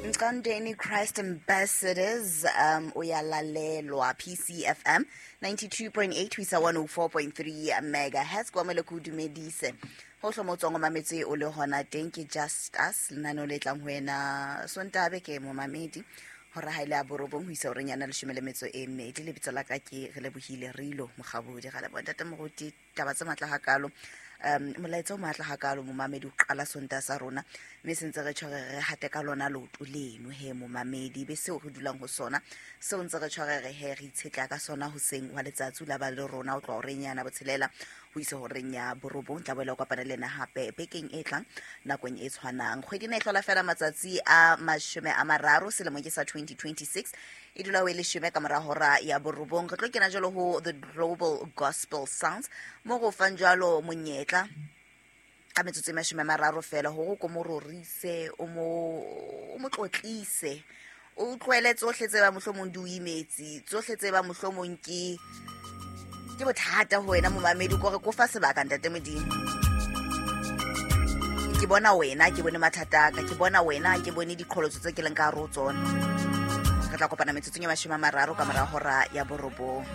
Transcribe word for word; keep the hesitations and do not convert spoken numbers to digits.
Mqandeni Christ Ambassadors, um uyalalelwa P C F M ninety-two point eight ho isa one oh four point three megahertz. Kwa mele ko dumedise hohle mo tswang o mametse o le hona teng. Ke Just Us, lenaneo le tlang ho wena Sontaha beke, momamedi, hore ha ile a borobong ho isa horeng yana leshome le metso e mmedi. Lebitso la ka ke re lebohile Rilo Mokgabodi. Ga leboha, ntate moruti, taba tse matla hakalo, um molaetsa o matla hakalo, momamedi, o qala Sontaha sa rona, mme sentse re tshware re hate ka lona leoto leno he, momamedi, be seo re dulang ho sona seo ntse re tshware re he re itshetleha ka sona hoseng wa letsatsi. O la ba le rona o tloha horeng yana botshelela ho isa horeng ya borobong. Tla boela o kopana le ena hape bekeng e tlang nakong e tshwanang. Kgwedi ena e hlola fela matsatsi a mashome a mararo, selemo ke sa twenty twenty-six, e dula ho e leshome ka mora hora ya borobong. Re tlo kena jalo ho The Global Gospel Sounds, mo go fang jalo monyetla ka metsotso e mashome a mararo fela hore o ko mo rorise, o mo o mo tlotlise, o tlohele tsohle tse ba mohlomong di o imetse, tsohle tse ba mohlomong ke ke bothata ho wena, momamedi, kore ko fa sebaka. Ntate Modimo, ke bona wena, ke bone mathata a ka, ke bona wena, ke bone diqholotso tse ke leng ka hare ho tsona. Re tla kopana metsotsong e mashome a mararo ka mora hora ya borobong.